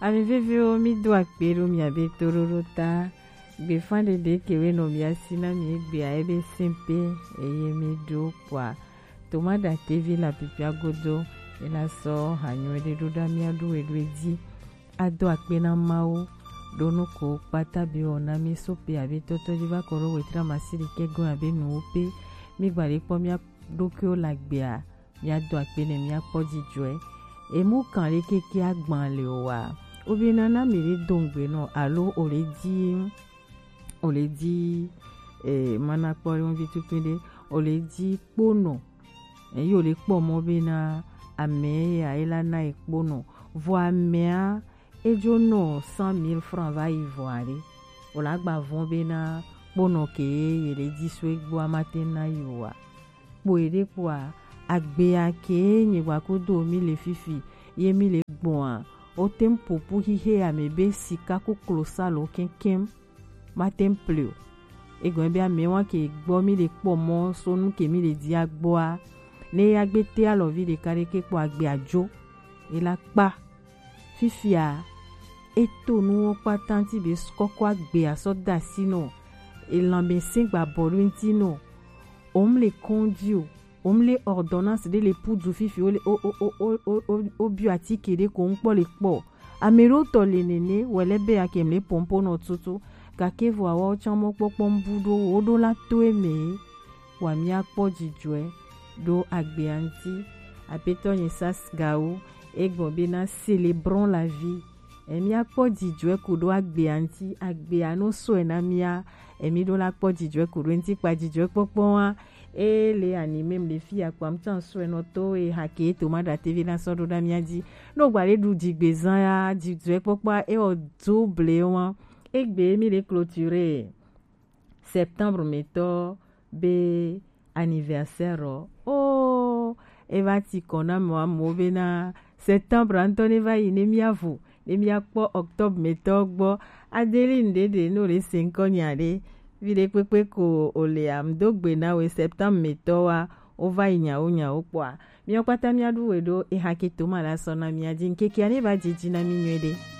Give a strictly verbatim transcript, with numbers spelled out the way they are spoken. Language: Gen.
Ami viviwo, mi do akpe ɖo miabe toɖoɖo ta. Gbefa ɖeɖe kewe nɔ mia si na mi egbe a ebe sɛnpe eye mi ɖo kpoa. Toma ɖa tevi la pipia godo, ela sɔ ha nyuie ɖe ɖo ɖa mia ɖo eɖo edzi. Ado akpe na Mawu ɖo nu ko kpata bi wɔ na mi so pe abe tɔtɔ dzi va kɔ ɖo wetra masi ɖi ke gɔn abe nuwo pe. Mi gba ɖe kpɔ mia ɖokuiwo la gbea. Míado akpe nɛ, míakpɔ dzidzɔe. Emu kan ɖe keke agban le o wa? Obe nana mi ɖe do ŋgbe nɔ alo o le di, o le di, eh, mana kpɔ ɖe ŋvi tukui ɖe, o le di kponɔ. Eyi o le kpɔ mɔ be na ame ya e la na e kponɔ. Vɔ amea e jo nɔ cent mille francs va yi vɔ aɖe. O la gba vɔn be na kponɔ ke ye le di so egbɔ a ma te na yi o wa? Kpo eɖe kpoa, agbea ke nye gba kudo mi le fifi, ye mi le gbɔa, o te ŋ popo xixe ame be sika ku klosalo kɛnkɛn, ma te ŋ ple o. Egɔme be ame wa ke gbɔ mi le kpɔ mɔ so nu ke mi le dia gbɔa, ne ya gbe te alɔvi ɖeka ɖe ke kpɔ agbea jo, e la kpa. Fifia, e to nuwo kpata ŋuti be kɔkɔ agbea sɔ da asi nɔ, elanmɛsɛn gba bɔ ɖo ŋuti nɔ, o mu le kɔndzi o, o mu le ordonnance ɖe le pudu fifi, o le o o o o o o o biɔ atike ɖe ko ŋkpɔ le kpɔ. Ame ɖewo tɔ le nene, wɔ le be ake mle pɔnpo nɔ tutu, gake vɔ awa wo tsã mɔ kpɔkpɔ ŋbu ɖo wo ɖo la to eme. Wa mia kpɔ dzidzɔe ɖo agbea ŋuti. Apetɔ nye sas gawo, egbɔ be na célébrons la vie. Emi akpɔ dzidzɔe ku ɖo agbea ŋuti, agbea no sɔe na mia, emi ɖo la kpɔ dzidzɔe ku ɖo ŋuti kpa dzidzɔe kpɔkpɔ wa. E le animem le fi akpa ŋuti sɔe nɔ to e hake to ma ɖa tevi na sɔ ɖo ɖa mia dzi. No gba le ɖu dzigbezã ya, dzidzɔe kpɔkpɔ e o do ble wa. Egbe mi le clôturer septembre metɔ be anniversaire o. Oh, e va ti kɔ na mɔ amewo be na septembre ŋutɔ ne va yi ne mia vo, ne mia kpɔ octobre metɔ gbɔ. Adeline ɖeɖe no le se ŋkɔ nya ɖe. Vi ɖe kpekpe ko o le am do gbe na we septembre metɔ wa, o va yi nyawo nyawo kpɔa. Mia kpata mia ɖu we ɖo e hake to ma la sɔ na mia dzi ŋkeke ne va dzidzi na mi nyuie ɖe.